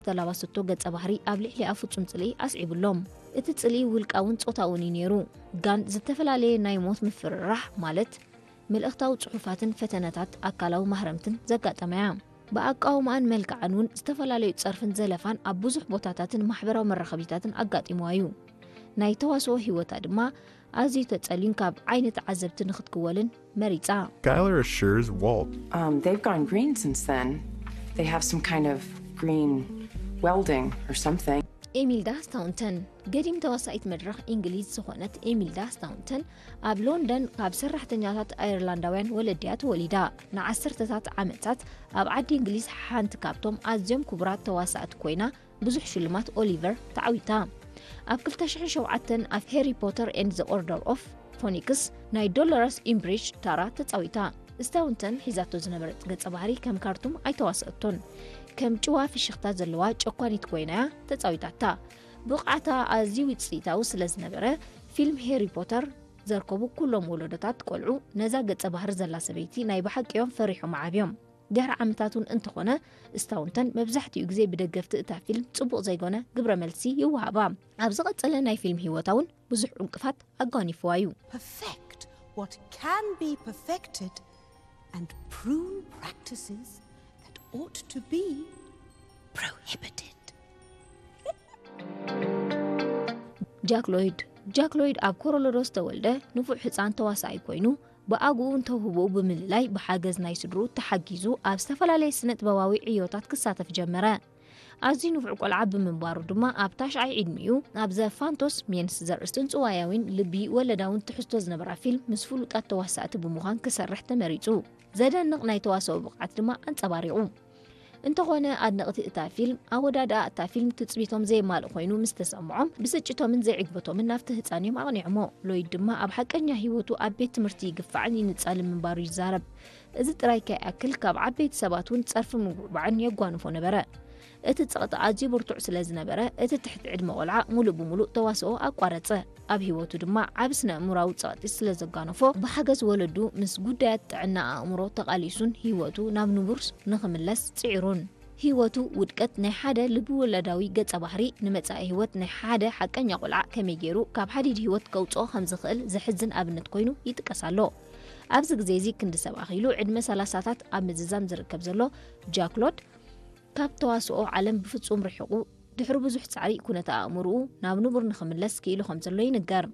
ዝተላባሰቶ ገጸ ባህሪ ኣብ ልዕሊኣ ፍጹም ጽልኢ ኣስዒቡሎም። እቲ ጽልኢ ውልቃውን ጾታውን እዩ ነይሩ። ጋን ዝተፈላለየ ናይ ሞት ምፍርራሕ፣ ማለት መልእኽታዊ ጽሑፋትን ፈተነታት ኣካላዊ ማህረምትን ዘጋጠመያ። ብኣቃውማኣን መልክዓን እውን ዝተፈላለዩ ጸርፍን ዘለፋን ኣብ ብዙሕ ቦታታትን ማሕበራዊ መራኸቢታትን ኣጋጢምዋ እዩ። ናይ ተዋስኦ ህይወታ ድማ ኣዝዩ ተጸልዩን ካብ ዓይኒ ተዓዘብቲ ንኽትክወልን መሪጻ። Skylar assures Walt. Um, they've gone green since then. They have some kind of green welding or something. ኤሚልዳ ስታውንተን፣ ገዲም ተዋሳኢት መድረኽ እንግሊዝ ዝኾነት ኤሚልዳ ስታውንተን፣ ኣብ ሎንደን ካብ ሰራሕተኛታት ኣየርላንዳውያን ወለድያ ተወሊዳ። ንዓሰርተታት ዓመታት ኣብ ዓዲ እንግሊዝ ሓንቲ ካብቶም ኣዝዮም ክቡራት ተዋሳእቲ ኮይና፣ ብዙሕ ሽልማት ኦሊቨር ተዓዊታ። ኣብ ክልተ ሽሕን ሸውዓተን ኣብ Harry Potter and the Order of Phoenix ናይ ዶሎረስ ኢምብሪጅ ታራ ተጻዊታ። ስታውንተን ሒዛቶ ዝነበረት ገጸ ባህሪ ከም ካርቱም ኣይተዋሰኣቶን። ከም ጭዋ ፍሽኽታ ዘለዋ ጨኳኒት ኮይናያ ተጻዊታታ። ብቕዓታ ኣዝዩ ውጽኢታዊ ስለ ዝነበረ፣ ፊልም ሄሪ ፖተር ዘርከቡ ኩሎም ወለዶታት ቆልዑ ነዛ ገጸ ባህሪ ዘላ ሰበይቲ ናይ ብሓቂ እዮም ፈሪሖም ዓብዮም። ድሕሪ ዓመታት እውን እንተኾነ፣ ስታውንተን መብዛሕትኡ ግዜ ብደገፍቲ እታ ፊልም ጽቡቕ ዘይኮነ ግብረ መልሲ ይወሃባ። ኣብ ዝቐጸለ ናይ ፊልም ህይወታ እውን ብዙሕ ዕንቅፋት ኣጓኒፍዋ እዩ። Perfect what can be perfected and prune practices that ought to be prohibited. ጃክ ሎይድ። ጃክ ሎይድ ኣብ ኮሎራዶ ዝተወልደ ንፉዕ ህጻን ተዋሳኣይ ኮይኑ፣ ብኣግኡን ተውህቦኡ ብምልላይ ብሓገዝ ናይ ስድርኡ ተሓጊዙ ኣብ ዝተፈላለየ ስነ ጥበባዊ ዕዮታት ክሳተፍ ጀመረ። ኣዝዩ ንፉዕ ቆልዓ ብምንባሩ ድማ ኣብ ታሽዓይ ዕድሚኡ ኣብ ዘ ፋንቶስ ሜንስ ዘርእስትን ጽዋያዊን ልቢ ወለዳውን ትሕዝቶ ዝነበራ ፊልም ምስ ፍሉጣት ተዋሳእቲ ብምዃን ክሰርሕ ተመሪጹ። ዘደንቕ ናይ ተዋስኦ ብቕዓት ድማ ኣንጸባሪቑ። እንተኾነ ኣድነቕቲ እታ ፊልም ኣወዳድኣ እታ ፊልም ትጽቢቶም ዘየማልእ ኮይኑ ምስ ተሰምዖም ብስጭቶምን ዘይዕግበቶምን ናብቲ ህጻን እዮም ኣቕኒዖሞ። ሎይድ ድማ ኣብ ሓቀኛ ህይወቱ ኣብ ቤት ትምህርቲ ይግፋዕን ይንጻልን ምንባሩ ይዛረብ። እዚ ጥራይ ከይኣክል ካብ ዓበይቲ ሰባት እውን ጸርፊ ምጉዕባዕን የጓንፎ ነበረ። እቲ ጸቕጢ ኣዝዩ ብርቱዕ ስለ ዝነበረ እቲ ትሕቲ ዕድመ ቆልዓ ሙሉእ ብሙሉእ ተዋስኦ ኣቋረጸ። ኣብ ህይወቱ ድማ ዓቢ ስነ ኣእምሮኣዊ ጸቕጢ ስለ ዘጋነፎ ብሓገዝ ወለዱ ምስ ጉዳያት ጥዕና ኣእምሮ ተቓሊሱን ህይወቱ ናብ ንቡር ንኽምለስ ጽዒሩን። ህይወቱ ውድቀት ናይ ሓደ ልቢ ወለዳዊ ገጸ ባህሪ ንመጻኢ ህይወት ናይ ሓደ ሓቀኛ ቆልዓ ከመይ ገይሩ ካብ ሓዲድ ህይወት ከውጽኦ ከም ዝኽእል ዘሕዝን ኣብነት ኮይኑ ይጥቀስ ኣሎ። ኣብዚ ግዜ እዚ ክንዲ ሰብ ኣኺሉ ዕድመ ሰላሳታት ኣብ ምዝዛም ዝርከብ ዘሎ ጃክ ሎይድ ካብ ተዋስኦ ዓለም ብፍጹም ርሒቑ ድሕሪ ብዙሕ ጻዕሪ ኩነተ ኣእምሮኡ ናብ ንቡር ንኽምለስ ክኢሉ ከም ዘሎ ይንገር።